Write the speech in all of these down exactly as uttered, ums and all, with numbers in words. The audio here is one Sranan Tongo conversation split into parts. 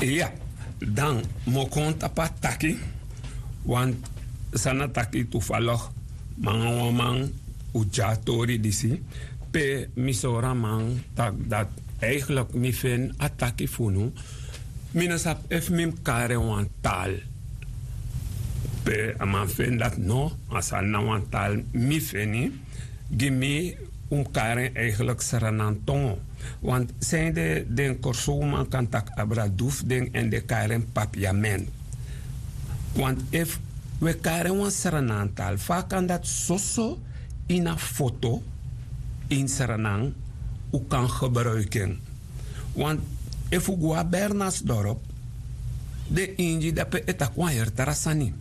Iya, dan mi o kon tapu a taki. Wan san na taki tufalok, mi nanga wan man, un tyari tori disi, pe mi sori a man tak' dati, eigenlik mi feni a taki fu unu. Mi no sabi efu mi mus kari en wan taal. Pe a man feni dati, no, a sani na wan taal mi feni. Gi mi, un mus kari en eigenlik Sranan tongo. Want sanede den Kòrsowman kan taki abra du fu den èn den kari en papiament. Want efu un e kari en wan Sranan taal, fa a kan dati soso ini a foto ini Sranan, un kan gebruiki en? Want efu un go a Bernardsdorp, den Ingi dape e taki wan heri tra sani.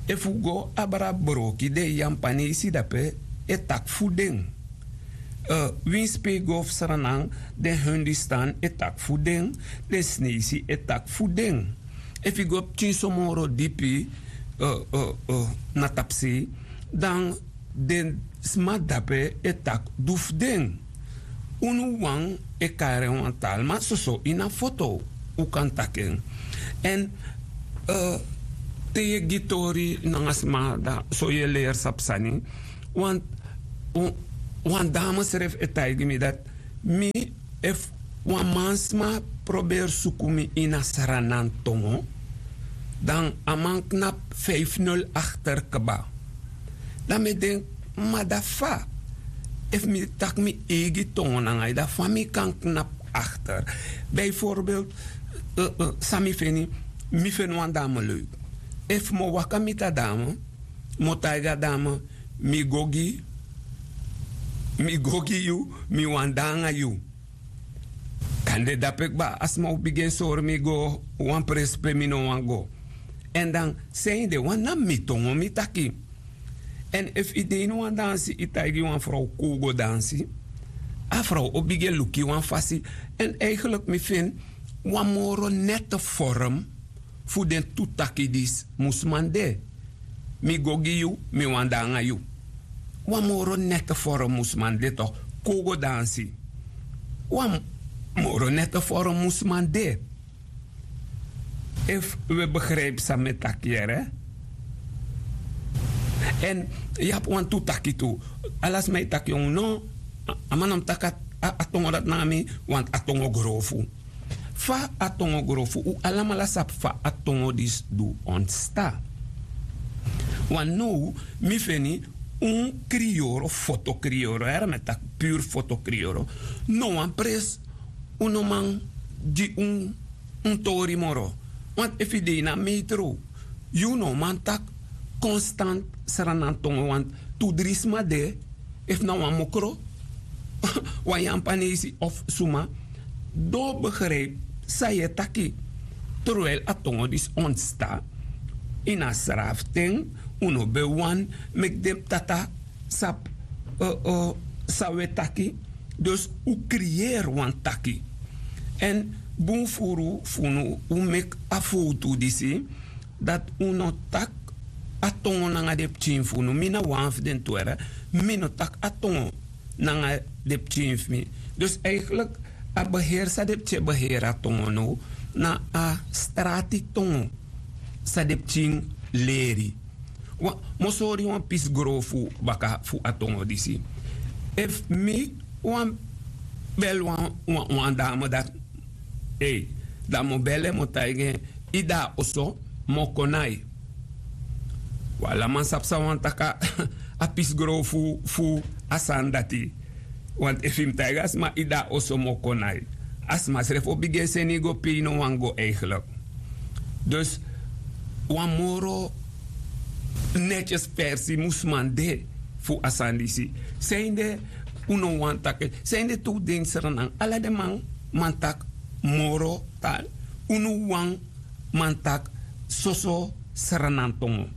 Efu un go abra Broki, den Yampanesi dape e taki fu den. Winsi pe yu go fu Sranan, den Hindustan e taki fu den, den Sinesi e taki fu den. Efu yu go pikin so moro dipi na tapusei, dan den sma dape e taki du fu den. Unu wawan e kari en wan taal, ma soso ini a foto un kan taki en. Èn te yu e gi tori nanga sma, dan so yu e leri sabi sani. Wan dame srefi e taigi mi dati mi, efu wan mansma proberi suku mi ini a Sranan tongo, dan a man knapu fifnul akter kba. Dan mi e denki, ma dati fa? Efu mi taki mi eigi tongo nanga yu, dan fa mi kan knapu akter? Bijvoorbeeld, san mi feni, mi feni wan dame leuk. Efu mi o waka miti a dame, mi o taigi a dame, mi go gi, mi go gi yu, mi wani de nanga yu. Kande dape kba a sma o bigin sori mi go wan presi pe mi no wani go. Èn dan sanede, wan na mi tongo mi taki. Èn efu yu de ini wan dansi, yu taigi wan frow kon un go dansi, a frow o bigin luku yu wan fasi. Èn eigenlik mi feni wan moro nette vorm fu den tu taki disi mus man de. Mi go gi yu, mi wani de nanga yu. Wan moro nette vorm mus man de, toch? Kon un go dansi. Wan moro nette vorm mus man de. Efu un e begrijpi san mi e taki yere. Èn yu abi wantu taki tu. Ala sma e taki, no, a man no mus taki a tongo dati nanga mi, want a tongo grofu. Fa a tongo grofu? Un alamala sabi fa a tongo disi du ontsta. Want now mi feni un kriyoro, foto kriyoro, yere, mi e taki puru foto kriyoro. No wan presi un no man gi un un tori moro. Want efu yu de ini a metro, yu no man taki konstant Sranan tongo, want tu dri sma de, efu na wan mokro, wan Yampanesi of suma, di o begrijpi san yu e taki. Terwijli a tongo disi ontsta ini a srafu ten, un no ben wani meki den tata sabi san un e taki. Dus un kriyeri wan taki. Èn bun furu fu unu, un meki a fowtu disi, dati un no taki a tongo nanga den pikin fu unu. Mi na wan fu den tu, yere, mi no taki a tongo nanga den pikin fu mi. Dus eigenlik a beheri san den pikin e beheri a tongo now, na a strati tongo san den pikin leri. Mi o sori yu wan pisi grofu baka fu a tongo disi. Efu mi wani beli wan dame dati, ei, dan mi o beli en, mi o taigi en, yu de na oso, mi o kon na yu. Wan ala man sabi san wani taki a pisi grofu fu a sani dati. Want efu yu mus taigi a sma yu de na oso, mi o kon na yu, a sma srefi o bigin e seni yu go pe yu no wani go eigenlik. Dus wan moro netyes versi mus man de fu a sani disi. Sanede un no wani taki, sanede tu den Sranan, ala den man man taki moro taal, unu wawan man taki soso Sranan tongo.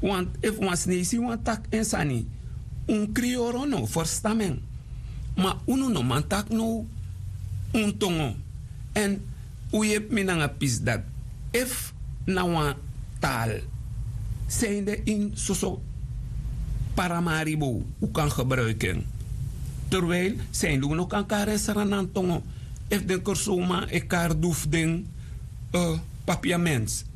Want efu wan Sinesi wani taki en sani, un kriyoro no ferstan mi en. Ma unu no man taki now un tongo. Èn un yepi mi nanga pisi dati. Efu na wan taal, sanede ini soso Paramaribo un kan gebruiki en? Terwijli sanede un no kan kari en Sranan tongo? Efu den Kòrsowman e kari du fu den, Papiamens.